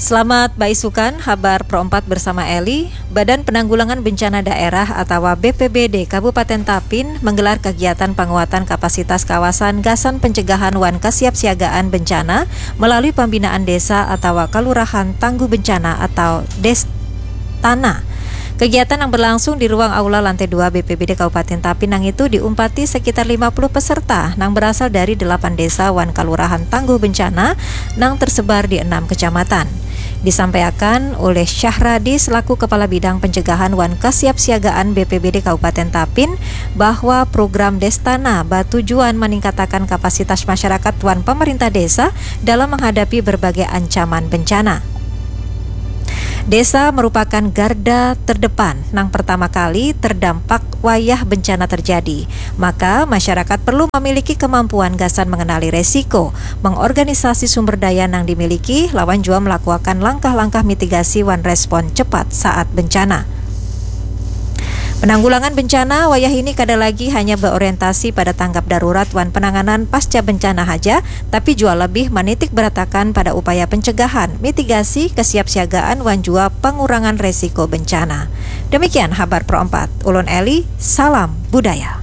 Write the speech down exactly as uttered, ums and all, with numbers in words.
Selamat baisukan, habar Pro empat bersama Eli. Badan Penanggulangan Bencana Daerah atawa B P B D Kabupaten Tapin menggelar kegiatan penguatan kapasitas kawasan gasan pencegahan wan kesiapsiagaan bencana melalui pembinaan desa atawa kelurahan tangguh bencana atau Destana. Kegiatan yang berlangsung di ruang aula lantai dua B P B D Kabupaten Tapin nang itu diumpati sekitar lima puluh peserta nang berasal dari delapan desa wan kelurahan tangguh bencana nang tersebar di enam kecamatan. Disampaikan oleh Syahradi selaku Kepala Bidang Pencegahan wan Kesiapsiagaan B P B D Kabupaten Tapin bahwa program Destana batujuan meningkatakan kapasitas masyarakat wan pemerintah desa dalam menghadapi berbagai ancaman bencana. Desa merupakan garda terdepan nang pertama kali terdampak wayah bencana terjadi. Maka, masyarakat perlu memiliki kemampuan gasan mengenali resiko, mengorganisasi sumber daya nang dimiliki, lawan jua melakukan langkah-langkah mitigasi wan respon cepat saat bencana. Penanggulangan bencana wayah ini kada lagi hanya berorientasi pada tanggap darurat wan penanganan pasca bencana haja, tapi jua lebih menitik beratakan pada upaya pencegahan, mitigasi, kesiapsiagaan wan jua pengurangan resiko bencana. Demikian habar Pro empat. Ulun Eli, salam budaya.